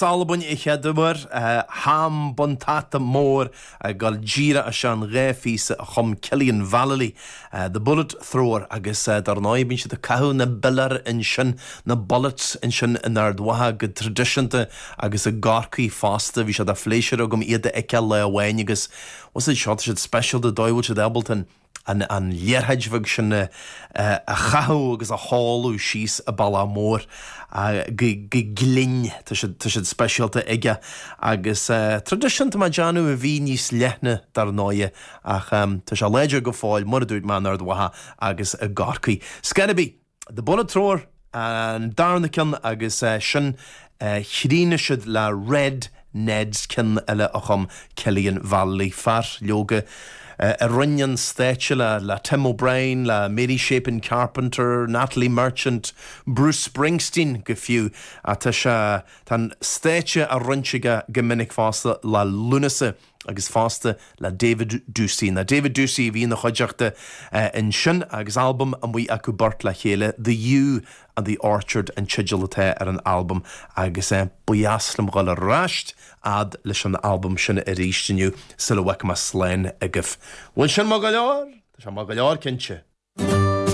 Albain a chéaduair, Ham Bun Tata Mór ag dul díreach isteach an dá phíosa a chum Cillian Vallely, The Bullet Thrower agus dar ndóigh bíonn siad ag caitheamh na bpiléar ansin, na bullets ansin in Ard Mhacha go traidisiúnta agus i gCorcaigh fosta. Bhí sé de phléisiúr agam iad a fheiceáil lá amháin agus bhfuil siad seo, tá siad speisialta, an dóigh a bhfuil siad ábalta an an liathróid bheag sin a chaitheamh agus a sheoladh síos an bealach mór go glinn. Tá siad, tá siad speisialta aige agus traidisiúnta mar déanamh a bhí níos leithne dar ndóighe ach tá sé láidir go fóill mar a dúirt mé in Ard Mhacha agus i gCorcaigh. Scor ar bith! The Bullet Thrower an darna ceann agus sin chríochnaigh siad le Red Neds, ceann eile a chum Cillian Vallely, fear leoga a roinn an stáitse le le Tim O'Brien, le Mary Chapin Carpenter, Natalie Merchant, Bruce Springsteen go fiú. Tá sé, tá an stáitse á roinnt aige go minic fosta le Lúnasa. agus fosta le David Doocey. Nó David Doocey a bhí ina chuideachta ansin agus albam amuigh acu beirt le chéile, The Yew and the Orchard an teideal atá ar an albam agus ba dheas liom dhul ar ais fhad leis an albam sin arís inniu sula bhfágfaidh mé slán agaibh. Bhfuil sin maith go leor? Tá sé maith go leor cinnte.